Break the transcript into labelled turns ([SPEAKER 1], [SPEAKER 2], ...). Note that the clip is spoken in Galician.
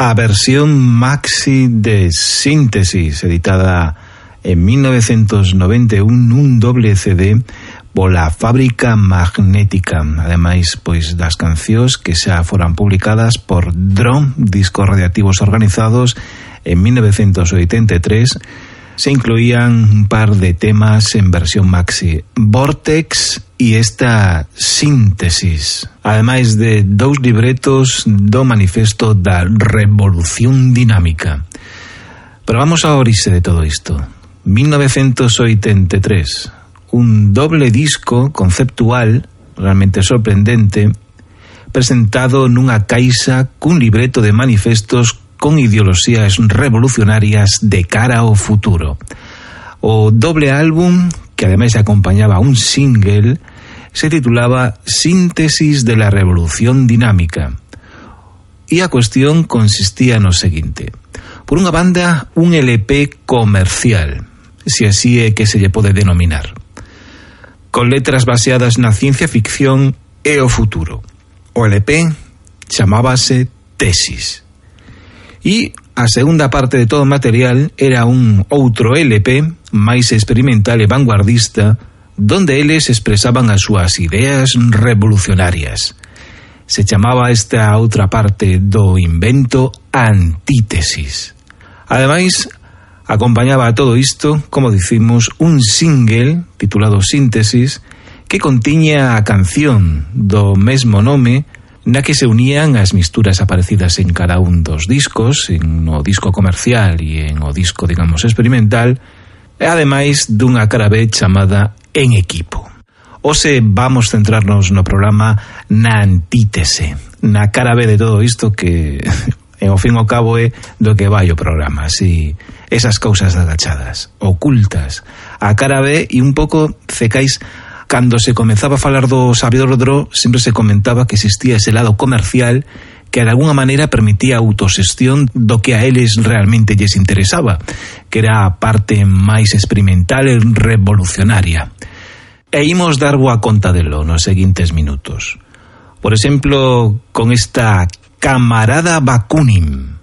[SPEAKER 1] a versión maxi de Síntesis, editada en 1991 nun doble CD pola Fábrica Magnética. Ademais, pois das cancións que xa foran publicadas por Drum, Discos Radiactivos Organizados, en 1983, se incluían un par de temas en versión maxi, Vortex y esta Síntesis, ademais de 2 libretos do Manifesto da Revolución Dinámica. Pero vamos a orixe de todo isto. 1983, un doble disco conceptual realmente sorprendente, presentado nunha caixa cun libreto de manifestos con ideoloxías revolucionarias de cara ao futuro. O doble álbum, que ademais acompañaba un single, se titulaba Síntesis de la Revolución Dinámica. E a cuestión consistía no seguinte: por unha banda, un LP comercial, se así é que se lle pode denominar, con letras baseadas na ciencia ficción e o futuro. O LP chamábase Tesis. E a segunda parte de todo o material era un outro LP máis experimental e vanguardista, donde eles expresaban as súas ideas revolucionarias. Se chamaba esta outra parte do invento Antítesis. Ademais, acompañaba a todo isto, como dicimos, un single titulado Síntesis, que contiña a canción do mesmo nome, na que se unían as misturas aparecidas en cada un dos discos, en o disco comercial e en o disco, digamos, experimental, e ademais dunha cara B chamada En Equipo. Hoxe vamos centrarnos no programa na antítese, na cara B de todo isto que, ao fin e ao cabo, é do que vai o programa, así, esas cousas agachadas, ocultas, a cara B, e un pouco cecais. Cando se comenzaba a falar do sabedor dro, sempre se comentaba que existía ese lado comercial que de alguna maneira permitía a autoxestión do que a eles realmente lles interesaba, que era a parte máis experimental e revolucionaria. E imos dar boa conta delo nos seguintes minutos. Por exemplo, con esta Camarada Bakunin.